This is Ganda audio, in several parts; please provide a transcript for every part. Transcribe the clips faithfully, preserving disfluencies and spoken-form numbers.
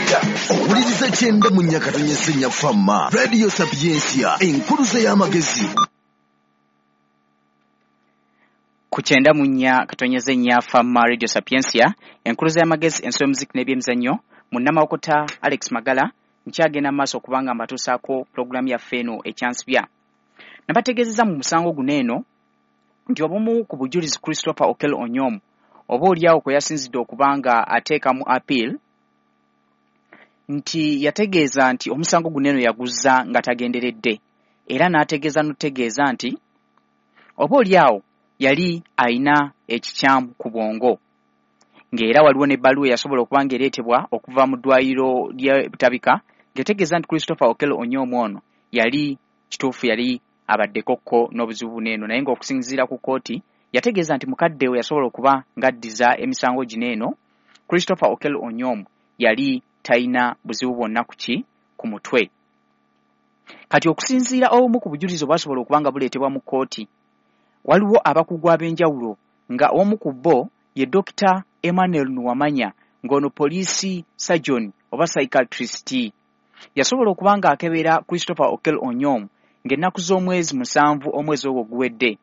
Owuliriza kyenda mu nnya katonyeze nnya Fama Radio Sapientia, enkuluze y'amagezi. Ku kyenda mu nnya katonyeze nnya Fama Radio Sapientia, enkuluze y'amagezi, ensi y'omuziki n'ebyemizannyo. Munnamawokota Alex Magala nkyagenda mu maaso okubanga mbatuusaako pulogulaamu yaffe eno ekyansibya. Nabategeezezza mu musango guno eno nti obumu ku bujulizi Christopher Okello Onyum oba oliawo kwe yasinzidde okuba nga ateeka mu appeal, nti yategeeza nti omusango guno eno yaguzza nga tagenderedde, era n'ategeeza n'okutegeeza nti oba oliawo yali ayina ekikyamu ku bwongo, ng'era waliwo n'ebbaluwa eyasobola okuba ng'ereetebwa okuva mu ddwaliro ly'e Butabika ng'etegeeza nti Christopher Okello Onyum ono yali kituufu yali abaddeko ko n'obuzibu buno eno, naye ng'okusinziira ku kkooti yategeeza nti mukadde we yasobola okuba ng'addiza emisango gino eno, Christopher Okello Onyum yali talina buzibu bwonna ku ki ku mutwe. Kati okusinziira obumu ku bujulizi obwasobola okuba nga buleetebwa mu kkooti, waliwo abakugu ab'enjawulo nga omu ku bo ye Dokita Emmanuel Nuwamanya, ng'ono poliisi surgeon oba psychiatrist. Yasobola okuba ng'akebera Christopher Okello Onyum ng'ennaku z'omwezi musanvu omwezi ogwo guwedde,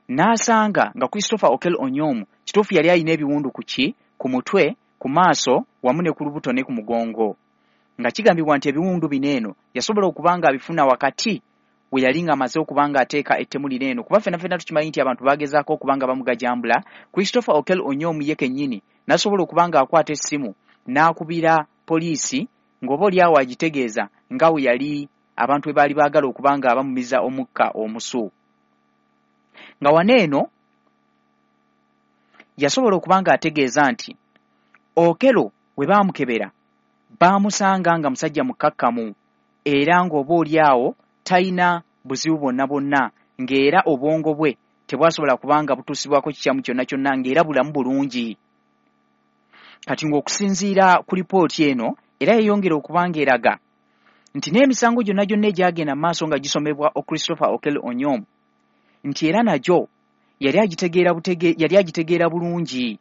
n'asanga nga Christopher Okello Onyum kituufu yali alina ebiwundu ku ki ku mutwe, ku maaso wamu ne ku lubuto ne ku mugongo, nga kigambibwa nti ebiwundu bino eno yasobola okuba ng'abifuna wakati we yali ng'amaze okuba ng'ateeka ettemu lino eno, kuba ffenna ffenna tukimanyi nti abantu bagezaako okuba nga bamugajambula. Christopher Okello Onyum ye kennyini n'asobola okuba ng'akwata essimu n'akubira poliisi ng'oba oliawo agitegeeza nga we yali abantu we baali baagala okuba nga bamumiza omukka omusu. Nga wano eno yasobola okuba ng'ategeeza nti Okello we baamukebera baamusanga nga musajja mukkakkamu, era ng'oba oliawo talina buzibu bwonna bwonna, ng'era obwongo bwe tebwasobola kubanga butuusibwako kikyamu kyonna kyonna, ng'era bulamu bulungi. Kati ng'okusinziira ku lipooti eno era yeeyongera okuba ng'eraga nti n'emisango gyonna gyonna egyagenda mu maaso nga gisomebwa Christopher Okello Onyum, nti era nagyo yali agitegeera butege, yali agitegeera bulungi,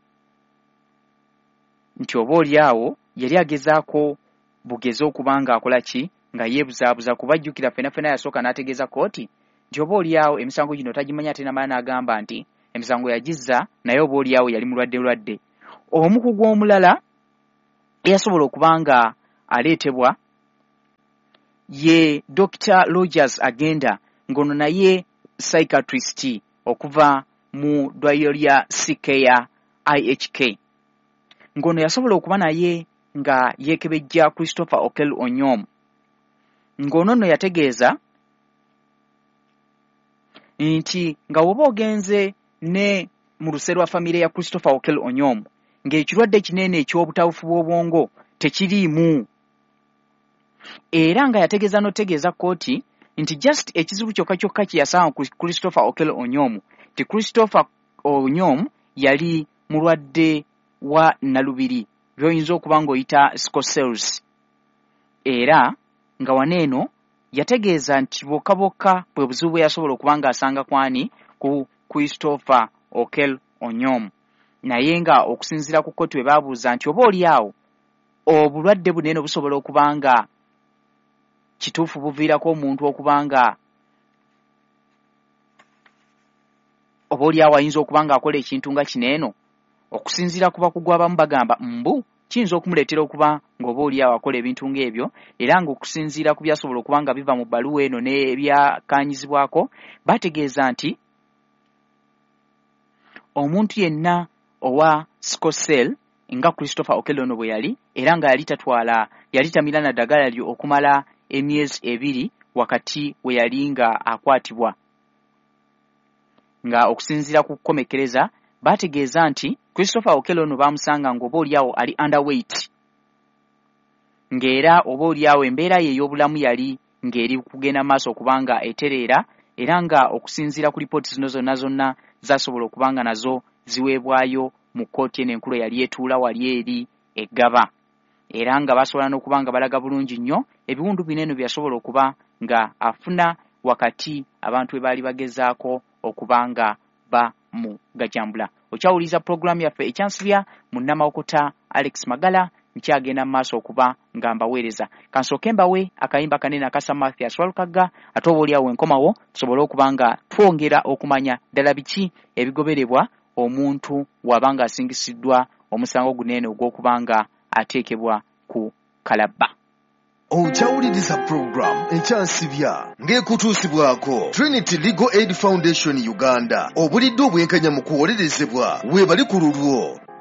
nti oba oliawo yali agezaako bugeze okuba ng'akola ki, nga yeebuzaabuza, kuba ajjukira ffenna ffenna yasooka n'ategeeza kkooti nti oba oliawo emisango gino tagimanya, ate n'amala n'agamba nti emisango yagizza naye oba oliawo yali mulwadde lwadde. Omukugu omulala eyasobola okuba nga aleetebwa ye Dokita Rogers Agenda, ng'ono naye psychiatrist okuva mu ddwaliro lya C K I H K, ng'ono yasobola okuba naye nga yeekebejja Christopher Okello Onyum, ng'ono nno yategeeza nti nga bw'oba ogenze ne mu luse lwa famire ya Christopher Okello Onyum, ng'ekirwadde kinene eky'obutabufu bw'obwongo tekiriimu, era nga yategeeza n'otegeeza kkooti nti just ekizibu kyokka kyokka kye yasanga ku Christopher Okello Onyum, nti Christopher Onyum yali mulwadde wa nalubiri by'oyinza okuba ng'oyita sickle cells, era nga wano eno yategeeza nti bokka bokka bwe buzibu bwe yasobola okuba ng'asanga kwani ku Christopher Okello Onyum. Naye nga okusinziira ku kkooti we baabuuza nti oba oli awo obulwadde buno eno busobola okuba nga kituufu buviirako omuntu okuba nga oba oli awo ayinza okuba ng'akola ekintu nga kino eno, okusinziira ku bakugu abamu bagamba mbu kiyinza okumuleetera okuba ng'oba oli awo akola ebintu ng'ebyo, era ng'okusinziira ku byasobola okuba nga biva mu bbaluwa eno n'ebyakkaanyizibwako, bategeeza nti omuntu yenna owa sickle cell nga Christopher Okello ono bwe yali, era nga yali tatwala, yali tamira na ddagala lyo okumala emyezi ebiri wakati we yali nga akwatibwa, nga okusinziira ku kukomekkereza bategeeza nti Christopher Okello ono baamusanga ng'oba oliawo ali underweight, ng'era oba oliawo embeera ye ey'obulamu yali ng'eri kugenda maaso okuba nga etereera, era nga okusinziira ku lipooti zino zonna zonna zasobola okuba nga nazo ziweebwayo mu kkooti eno enkulu eyali etuula wali eri eggaba, era nga basobola n'okuba nga balaga bulungi nnyo ebiwundu bino eno bye yasobola okuba nga afuna wakati abantu we baali bagezaako okuba nga bamugajambula. Okyawuliriza pulogulaamu yaffe ekyansibya, munnamawokota Alex Magala Nkyagenda mu maaso okuba nga mbaweereza. Kansooke mbawe akayimba kanene akasa Mathias Walukagga, ate oba oliawo enkomawo tusobole okuba nga twongera okumanya ddala biki ebigoberebwa omuntu waba nga asingisiddwa omusango guneene ogw'okuba nga ateekebwa ku kalabba. Okyawuliriza pulogulaamu Ekyansibya ng'ekutuusibwako Trinity Legal Aid Foundation Uganda. Obulidde obwenkanya mu kuwolerezebwa weebali ku lulwo.